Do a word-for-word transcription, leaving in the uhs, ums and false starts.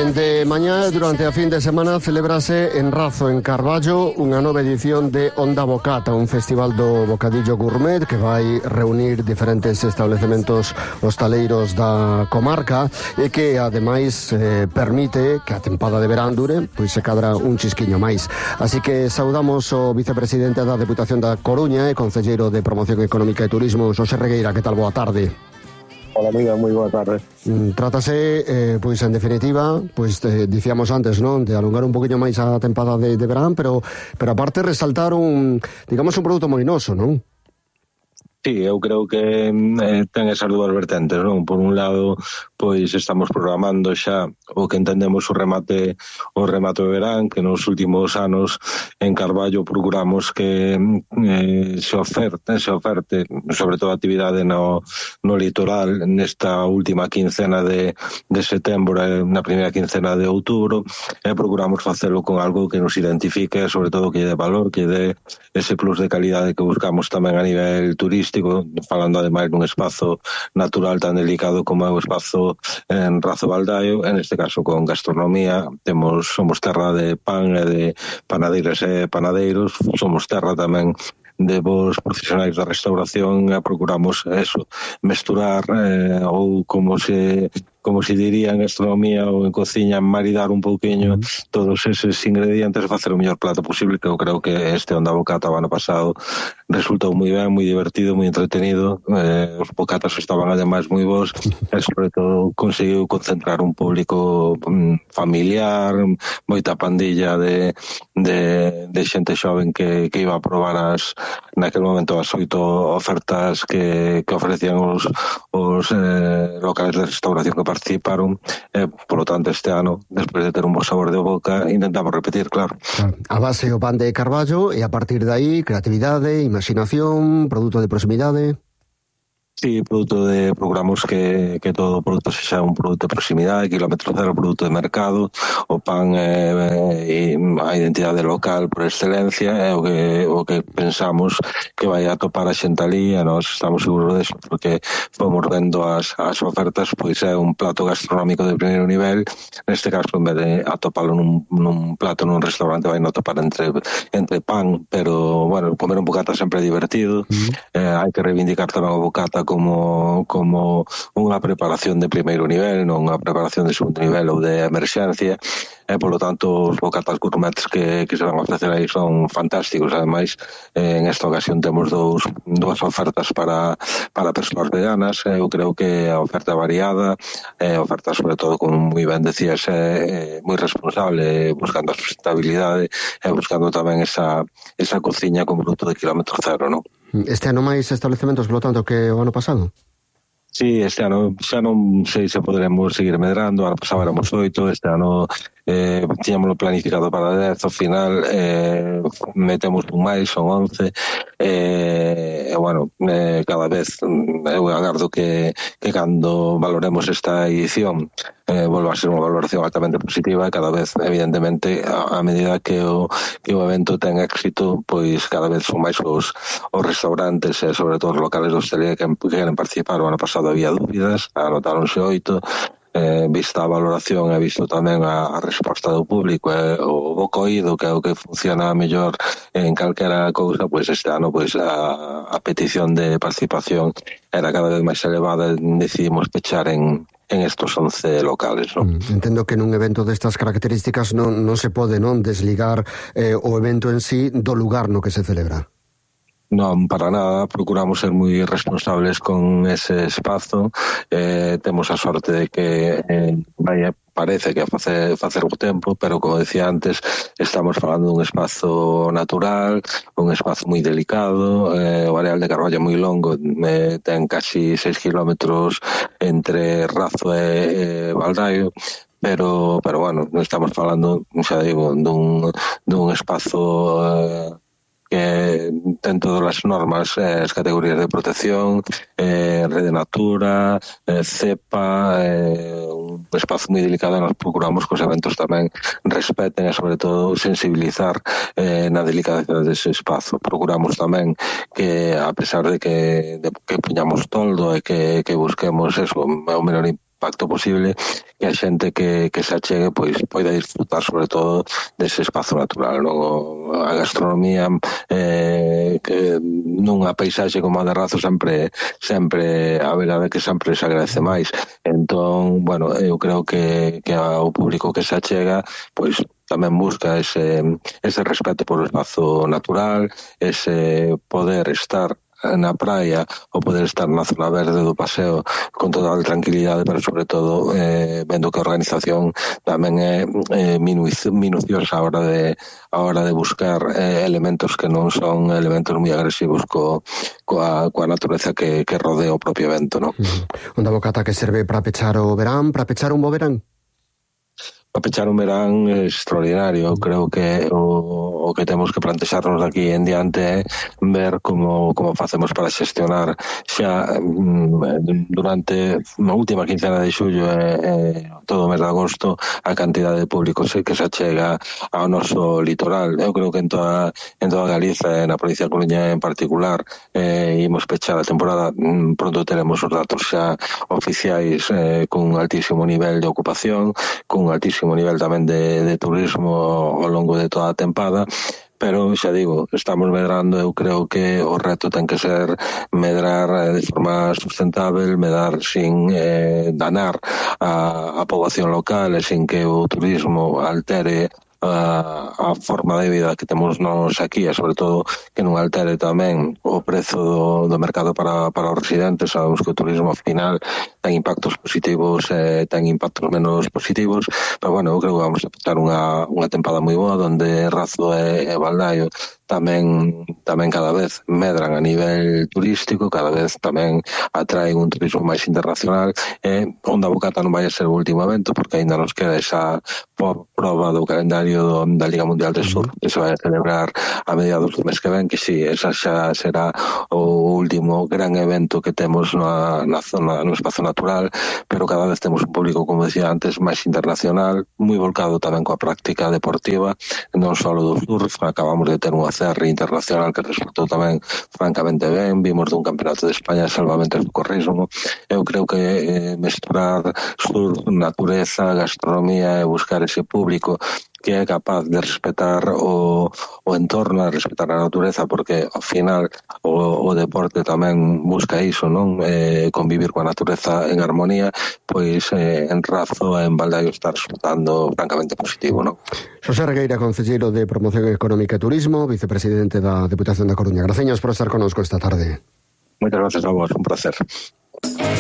Dende mañá, durante a fin de semana, celébrase en Razo, en Carballo, unha nova edición de Onda Bocata, un festival do bocadillo gourmet que vai reunir diferentes establecementos hostaleiros da comarca e que, ademais, eh, permite que a tempada de verán dure, pois se cadra un chisquiño máis. Así que saudamos o vicepresidente da Deputación da Coruña e concelleiro de Promoción Económica e Turismo, Xosé Regueira. Que tal? Boa tarde. Hola, amiga, moi boa tarde. Trátase, eh, pois, en definitiva, pois, eh, dicíamos antes, non, de alongar un poquinho máis a tempada de, de verán, pero, pero aparte resaltar un, digamos, un produto moi noso, non? Sí, eu creo que eh, ten esas dúas vertentes, non? Por un lado, pois estamos programando xa o que entendemos o remate o remate de verán, que nos últimos anos en Carballo procuramos que eh, se oferte, se oferte, sobre todo a actividade no, no litoral nesta última quincena de, de setembro e na primeira quincena de outubro, e procuramos facelo con algo que nos identifique, sobre todo que lle dé valor, que lle dé ese plus de calidade que buscamos tamén a nivel turístico, falando ademais dun espazo natural tan delicado como é o espazo en Razo Baldaio. En este caso con gastronomía, temos somos terra de pan e de panadeiras e panadeiros, somos terra tamén de vos profesionais da restauración, e procuramos eso, mesturar eh, ou como se como se diría en gastronomía ou en cociña, maridar un pouquiño todos eses ingredientes e facer o mellor plato posible, que eu creo que este Onda Bocata o ano pasado resultou moi ben, moi divertido, moi entretenido, eh, os bocatas estaban ademais moi bons, e sobre todo conseguiu concentrar un público mm, familiar, moita pandilla de, de, de xente xoven que, que iba a probar as, naquel momento as oito ofertas que, que ofrecían os, os eh, locales de restauración que participaron, e, por lo tanto, este ano, despois de ter un bo sabor de boca, intentamos repetir, claro. A base o pan de Carballo, e a partir de aí, creatividade, imaginación, produto de proximidade. Sí, produto de procuramos que, que todo o produto sexa un produto de proximidade, kilómetro cero, produto de mercado. O pan é, é a identidade local por excelencia, é o que, o que pensamos que vai a topar a xente ali, e nós estamos seguros deso, porque fomos vendo as, as ofertas, pois é un plato gastronómico de primeiro nivel. Neste caso, en vez de atopalo nun, nun plato nun restaurante, vai non topar entre, entre pan, pero, bueno, comer un bocata sempre é divertido. Mm. Eh, hai que reivindicar tamén o bocata como como unha preparación de primeiro nivel, non unha preparación de segundo nivel ou de emerxencia, e, polo tanto, os bocatas gourmets que, que se van a ofrecer aí son fantásticos. Ademais, eh, en esta ocasión temos dous, dúas ofertas para, para persoas veganas. Eu creo que a oferta variada, eh, oferta sobre todo, como moi ben decías, eh, moi responsable, buscando a sustentabilidade e buscando tamén esa, esa cociña con produto de kilómetro cero, non? Este ano máis establecementos, polo tanto, que o ano pasado? Sí, este ano xa non sei se poderemos seguir medrando. Ano pasado éramos oito, este ano eh, tiñamos planificado para dez, ao final eh, metemos un máis, son once, e eh, bueno, eh, cada vez eu agardo que, que cando valoremos esta edición eh, volva a ser unha valoración altamente positiva, e cada vez, evidentemente, a, a medida que o, que o evento ten éxito, pois cada vez son máis os, os restaurantes e sobre todo os locales de hostelería que, que queren participar. O ano pasado había dúbidas, anotáronse oito, eh, vista a valoración e visto tamén a, a resposta do público e o boco oído, que é o que funciona mellor en calquera cousa, pois este ano pois a, a petición de participación era cada vez máis elevada, e decidimos pechar en en estos once locales, non? Entendo que nun evento destas características non, non se pode non desligar eh, o evento en sí do lugar no que se celebra. Non, para nada, procuramos ser moi responsables con ese espazo. Eh, temos a sorte de que eh, vai, parece que facer, facer o tempo, pero como decía antes, estamos falando dun espazo natural, un espazo moi delicado. Eh, o areal de Carballo é moi longo, eh, ten casi seis kilómetros entre Razo e eh, Baldaio, pero, pero bueno, estamos falando, xa digo, dun, dun espazo eh, que ten todas as normas, eh, as categorías de protección, eh, Rede Natura, eh, CEPA, eh, un espazo moi delicado. Nos procuramos que os eventos tamén respeten e, sobre todo, sensibilizar eh, na delicadeza dese espazo. Procuramos tamén que, a pesar de que, de que puñamos toldo e que, que busquemos eso, o menor impacto posible que a xente que, que se achegue pois poida disfrutar sobre todo dese espazo natural, non? A gastronomía eh, que nunha paisaxe como a de Razo sempre sempre a verdade que sempre se agradece máis. Entón, bueno, eu creo que, que ao público que se achega pois tamén busca ese, ese respeto por o espazo natural, ese poder estar na praia ou poder estar na zona verde do paseo con total tranquilidade, pero sobre todo eh, vendo que a organización tamén é eh, minuciosa a hora de a hora de buscar eh, elementos que non son elementos moi agresivos co, coa, coa natureza que, que rodea o propio evento, non? Mm. Onda bocata que serve para pechar o verán, para pechar un bo verán? Para pechar un verán extraordinario. Creo que o, o que temos que plantexarnos aquí en diante é ver como, como facemos para xestionar xa durante a última quincena de xullo e, e todo o mes de agosto a cantidade de público que se achega ao noso litoral. Eu creo que en toda, en toda Galiza e na provincia de Coruña en particular eh, imos pechar a temporada. Pronto teremos os datos xa oficiais eh, con un altísimo nivel de ocupación, con un altísimo nivel tamén de, de turismo ao longo de toda a tempada, pero xa digo, estamos medrando. Eu creo que o reto ten que ser medrar de forma sustentável, medrar sin eh, danar a, a poboación local e sin que o turismo altere a, a forma de vida que temos nós aquí, e sobre todo que non altere tamén o prezo do, do mercado para, para os residentes. Sabemos que o turismo ao final ten impactos positivos e ten impactos menos positivos, pero bueno, eu creo que vamos a petar unha, unha tempada moi boa onde Razo e, e Baldaio tamén tamén cada vez medran a nivel turístico, cada vez tamén atraen un turismo máis internacional, e Onda Bocata non vai a ser o último evento, porque aínda nos queda esa proba do calendario do, da Liga Mundial de Surf que se vai a celebrar a mediados do mes que ven, que si, sí, esa xa será o último gran evento que temos na, na zona, no espazo natural, pero cada vez temos un público, como decía antes, máis internacional, moi volcado tamén coa práctica deportiva, non só do surf. Acabamos de ter unha C R internacional que resultou tamén francamente ben, vimos dun campeonato de España de salvamento do corrismo. Eu creo que eh, mesturar surf, natureza, gastronomía e buscar ese público que é capaz de respetar o, o entorno, de respetar a natureza, porque ao final o, o deporte tamén busca iso, non? Eh, convivir coa natureza en armonía, pois eh, en Razo e en Baldaio está resultando francamente positivo, non? Xosé Regueira, concelleiro de Promoción Económica e Turismo, vicepresidente da Deputación da Coruña. Graciñas por estar connosco esta tarde. Moitas gracias a vos, un placer.